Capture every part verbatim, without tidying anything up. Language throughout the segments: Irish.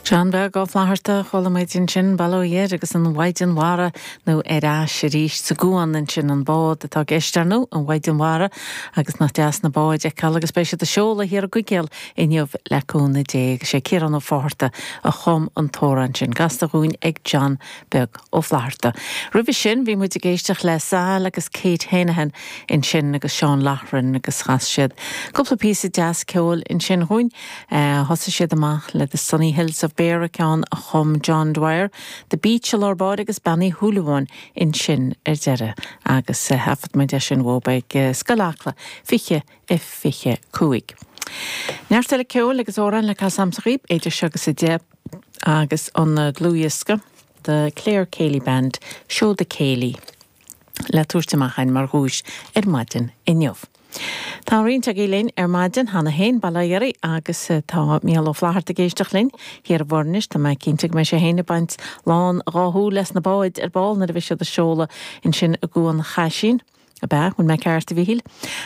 John Beag Ó Flatharta chuala muid ansin Bail ó Dhia air agus an Mhaighdean Mhara nó ar ais arís sa gcuan ansin an bád atá i gceist nó an Mhaighdean Mhara agus nach deas na báid a fheiceáil agus beidh siad ag seoladh thiar i gCuigéal inniu le cúnamh Dé sé Ciarán Ó Fátharta a chum an t-amhrán sin gasta dhúinn ag John Beag Ó Flatharta. Roimhe sin bhí muid ag éisteacht le Sal agus Kate Henahan ansin agus Seán Loughran agus chas siad. Cúpla píosa deas ceoil ansin dhúinn thosaigh siad amach le the Sunny Hills of Beara ceann a chum John Dwyer, The Beach lár báire agus Bean Uí Shúilleabháin ansin ar deireadh agus thaifead muid é sin bhób ag Scoil Acla fiche a fiche cúig. Neart eile ceoil agus amhráin le casadh daoibh idir seo agus a deich agus an dlúthdhiosca the Clare Céilí Band Seoda Céilí le tabhairt amach mar dhuais ar maidin inniu. Tá roinnt agaibh linn ar maidin cheana féin bailithe agus tá Mícheál Ó Flatharta ag éisteacht linn thiar i bhFoirnis tá mé cinnte go mbeidh sé féin ag baint lán dhá shúil leis na báid ar ball nuair a bheidh siad ag seoladh ansin i gCuan Chaisín. A be hun me ceart a bhíhil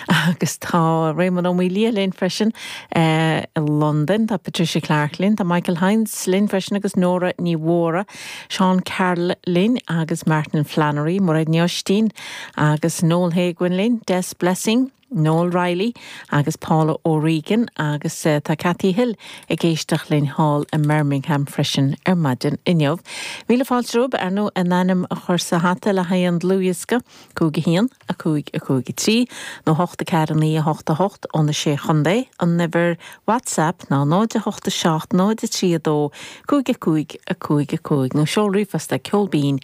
agus tá Raymond Ó Maolia linn freisin uh, i London tá Patricia Clark linn, tá Michael Hines linn freisin agus Nora Ní Mhóra, Sean Carl linn agus Martin Flannery, Mairéad Ní Oistín agus Noel Haguin linn, Des Blessing. Noel Riley agus Paula O'Regan agus uh, tá Cathy Hill ag éisteacht linn thall i Birmingham freisin ar maidin inniu. Míle fáilte romhaibh ar ndóigh an ainm a chur sa hata le haghaidh an dlúthdhiosca cúig a haon a cúig a cúig a trí nó hocht a ceathair naoi a hocht a hocht ó na sé chontae an uimhir WhatsApp ná náid a hocht a seacht náid a trí a dó cúig a cúig a cúig a cúig nó seol ríomhphost ceolbín